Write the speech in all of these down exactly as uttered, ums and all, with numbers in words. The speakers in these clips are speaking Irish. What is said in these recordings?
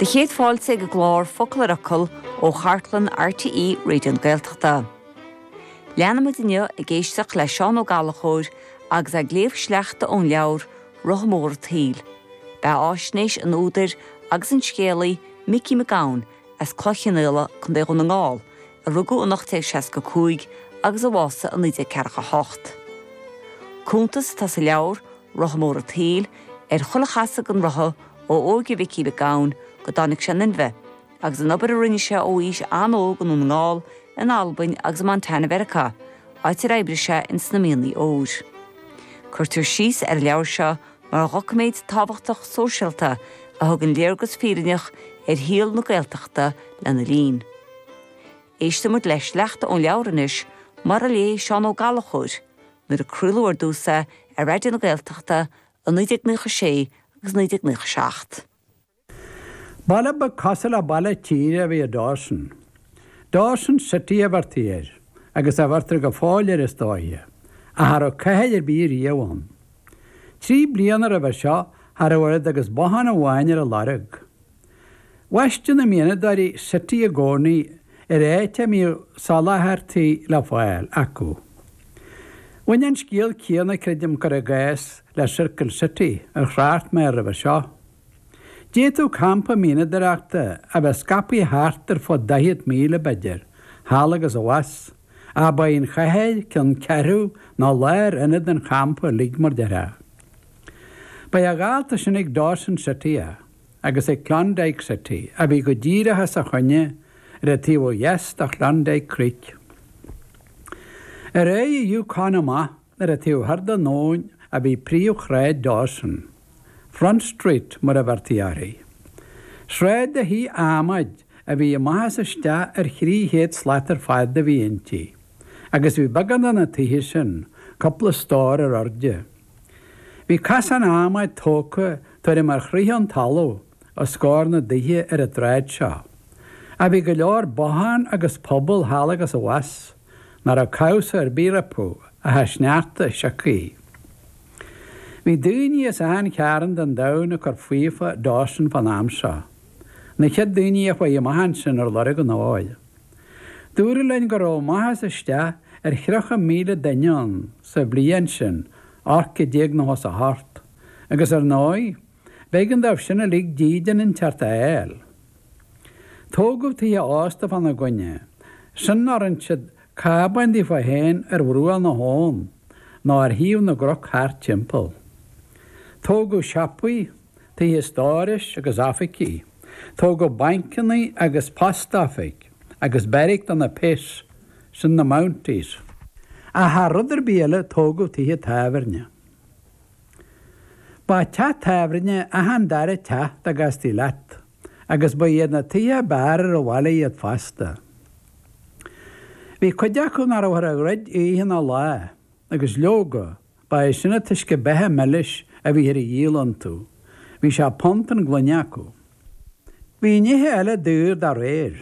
Do chéad fáilte ag an gclár Focal ar Fhocal ó chartlann RTÉ Raidió na Gaeltachta. Leanfaimid inniu ag éisteacht le Seán Ó Gallchóir agus ag léamh sleachta ón leabhar Rotha Mór an tSaoil. Beathaisnéis an údair agus an scéalaí Micí Mac Gabhann as Cloich Chionnaola Contae Dhún na nGall, a rugadh in ocht déag seasca cúig agus a bhásaigh i naoi déag ceathracha hocht. Cuntas atá sa leabhar Rotha Mór an tSaoil ar chuile chasadh den rotha ó óige Mhicí Mhic Gabhann go dtáinig sé in inmhe, agus an obair a rinne sé ó aois an-óg i nDún na nGall, in Albain agus i Montana Mheiriceá, áit ar oibrigh sé ins na mianaigh óir. Cuirtear síos ar an leabhar seo mar dhoiciméad tábhachtach sóisialta a thugann léargas fírinneach ar shaol na Gaeltachta lena linn. Éistfimid le sleachta ón leabhar anois mar a léigh Seán Ó Gallchóir nuair a craoladh ar dtús é ar Raidió na Gaeltachta i naoi déag nócha sé agus naoi déag nócha seacht. Baile beag cosúil le baile tíre a bhí i Dawson. Dawson City a bheirtí air, agus a bheirtear go fóill air is dóiche, ach cha raibh cathair ar bith riamh ann. Trí bliana roimhe seo cha raibh oiread agus bothán amháin ar a lorg. Bhaisteadh na mianadóirí City i gcónaí ar áit a mbíodh soláthairtí le fáil acu. Bhain an scéal céanna, creidim, cur i gcás le Circle City ar thrácht mé air roimhe seo. D'fhéadfadh campa mianadóireachta a bheith scaipthe thart ar fud daichead míle, b'fhéidir, thall agus abhus, ach ba í an chathair ceann ceathrú nó lárionad an champa uilig, mar déarfá. Ba é a dhálta sin ag Dawson City é, agus ag Klondike City, a bhí go díreach os a choinne ar an taobh ó dheas de Klondike Creek. Ar aghaidh an Yukon amach ar an taobh thoir den abhainn a bhí príomhshráid Dawson, Front Street mar a bheirtí uirthi. Sráid de thithe adhmaid a bhí amach is isteach ar thrí chéad slat ar fad a bhí inti, agus bhí beagán de na tithe sin cúpla stór ar airde. Bhí casán adhmaid tógtha tuairim ar shroich an talamh os comhair na dtithe ar an tsráid seo. Ach bhí go leor bothán agus puball thall agus abhus nach raibh cabhsa ar bith rompu ach an sneachta sioctha. Bhí daoine as achan chearn den domhan ag cur faofa i Dawson fán am seo, na chéad daoine a chuaigh amach ansin ar lorg an óir. Dúradh linn go raibh amach is isteach ar thríocha míle duine ann sa bhliain sin, ocht déag nócha is a hocht, agus ar ndóigh, b'éigean dóibh sin uilig dídean inteacht a fháil. Tógadh tithe ósta fána gcoinne, sin nó rinne siad cábáin daofa féin ar bhruach na habhann nó ar thaobh na gcnoc thart timpeall. Tógadh siopaí, tithe stórais agus oifigí. Tógadh bancanna agus post-oifig agus beairic do na péas, sin na Mounties. Ach thar rud ar bith eile tógadh tithe tábhairne. Ba teach tábhairne achan dara teach dá gcastaí leat, agus ba iad na tithe ab fhearr ar an bhaile iad fosta. Bhí cuid acu nach rabhthar a dhruid oíche ná lá, agus leoga, ba é sin an t-uisce beatha milis a bhíthear a dhíol iontu. Bhí sé punt an gloine acu. Bhí nithe eile daor dá réir.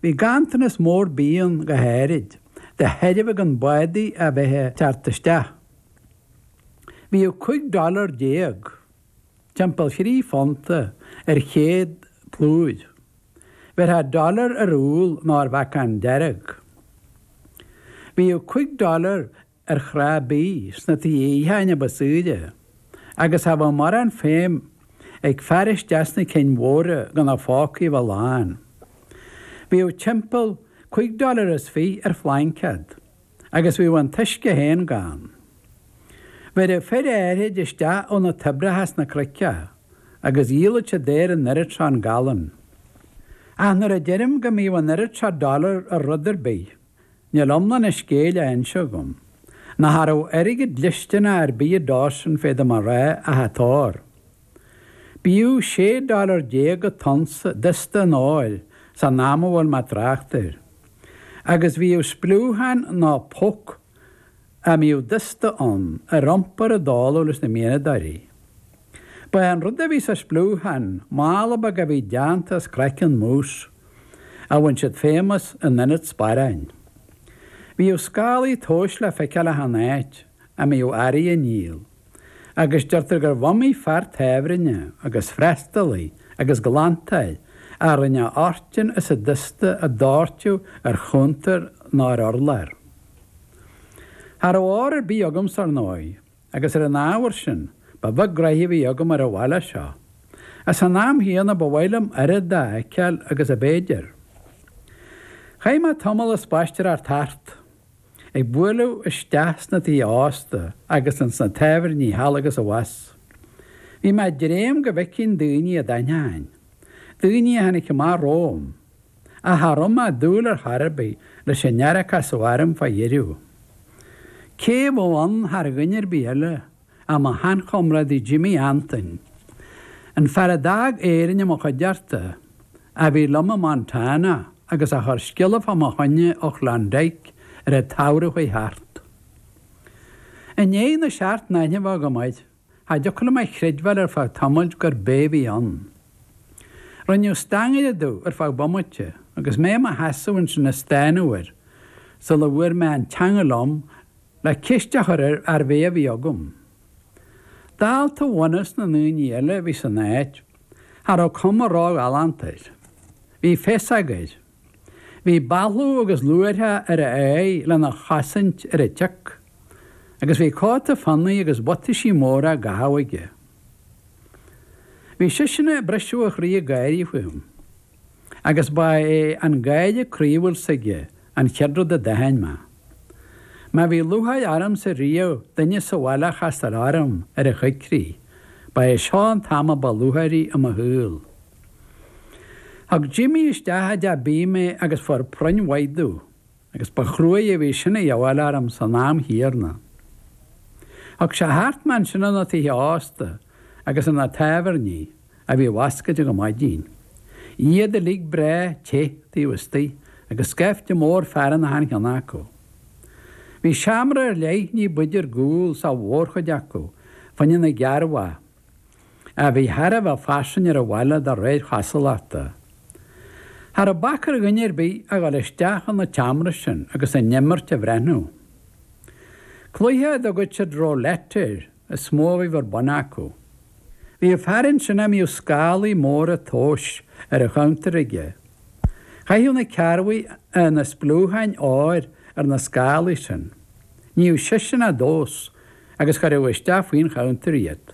Bhí ganntanas mór bídh ann go háirid, de thairbhe gan bádaí a bheith ag teacht isteach. Bhíodh cúig dollar déag, timpeall thrí phunta, ar chéad plúr. Bheirtheá dollar ar úll nó ar bheacán dearg. Bhíodh cúig dollar ar shraith bídh sna tithe itheacháin a ba saoire, agus cha bheadh mórán feidhm ag faire isteach sna cinn mhóra gan a phócaí a bheith lán. Bhíodh timpeall cúig dollar is fiche ar phlaincéad, agus bhíodh an t-uisce féin gann. Bheireadh fir áirid isteach ó na toibreacha sna cnoic é, agus dhíolfadh siad air an oiread seo an galún. Ach nuair a deirim go mbíodh an oiread seo dollar ar rud ar bith, níl iomlán an scéil á inse agam. Nó cha raibh airgead dlisteanach ar bith i Dawson féadaim a rá ach an t-ór. B'fhiú sé dollar déag an t-unsa dusta an óir san am a bhfuil mé ag trácht air. Agus bhíodh spliúchán nó poc a mbíodh dusta ann ar iompar i dtólamh leis na mianadóirí. Ba é an rud a bhí sa spliúchán mála beag a bhí déanta as craiceann mús, a bhain siad feidhm as in ionad sparáin. Bhíodh scálaí tomhais le feiceáil achan áit a mbíodh earraí á ndíol, agus deirtear gurbh iomaí fear tábhairne agus freastalaí agus glantáil a rinne artin is a dusta a doirteadh ar chuntar ná ar urlár. Cha raibh ór ar bith agamsa ar ndóigh, agus ar an ábhar sin, ba bheag graithe a bhí agam ar an bhaile seo. Ach san am chéanna ba mhaith liom oiread de a fheiceáil agus ab fhéidir. Chaith mé tamall ag spaisteoireacht thart, ag bualadh isteach sna tithe ósta agus ins na tábhairní thall agus abhus. Bhí mé ag dréim go bhfeicfinn daoine a d'aithneoinn, daoine a tháinig amach romham, ach cha raibh mé ag dúil ar chor ar bith leis an fhear a casadh orm fá dheireadh. Cé a bheadh ann thar dhuine ar bith eile ach mo sheanchomrádaí Jimí Antoin, an fear a d'fhág Éirinn i mo chuideachta, a bhí liom i Montana agus a chuir scéala fá mo choinne ó Chlondike ar an tsamhradh a chuaigh thart. I ndiaidh na seacht n-aithne a bheith agam air, cha dtiocfadh liom a chreidbheáil ar feadh tamaill gurb é a bhí ann. Rinneadh stangaire domh ar feadh bomaite agus mé i mo sheasamh ansin ag stánadh air sula bhfuair mé an teanga liom le ceist a chur air arbh é a bhí agam. Dálta bhunús na ndaoine eile a bhí san áit, cha raibh cuma róghalánta air. Bhí féasóg air. Bhí balbh agus luaithreach ar a aghaidh lena chosaint ar an tsioc, agus bhí cóta fionnaidh agus buataisí móra á gcaitheamh aige. Bhí seisean ag briseadh a chroí ag gáirí fúm, agus ba é an gáire croíúil s'aige an chéad rud a d'aithin mé. Má bhí lúcháir ormsa riamh duine sa bhaile a chastáil orm ar a choigrích, ba é seo an t-am a ba lúcháirí i mo shaol. Thug Jimí isteach i dteach bídh mé agus fuair proinn mhaith domh, agus ba chruaidh a bhí sin a dhíobháil orm san am chéanna. Thug sé thart mé ansin ina tithe ósta agus ina tábhairní a bhí oscailte go maidin. Iad uilig breá te taobh istigh agus scaifte mór fear in achan cheann acu. Bhí seomra ar leith ní b'fhaide ar gcúl sa mhórchuid acu, fá choinne na gcearrbhach, a bhí thar a bheith fairsing ar an bhaile de réir chosúlachta. Cha raibh bac ar dhuine ar bith a dhul isteach chun na tseomra sin agus an imirt a bhreathnú. Cluiche a dtugadh siad roulette air is mó a bhí ar bun acu. Bhí fear ansin a mbíodh scálaí móra tomhais ar a chuntar aige. Chaitheadh na cearrbhaigh na spliúcháin óir ar na scálaí sin. Níodh seisean á dtomhas agus chuireadh isteach faoin chuntar iad.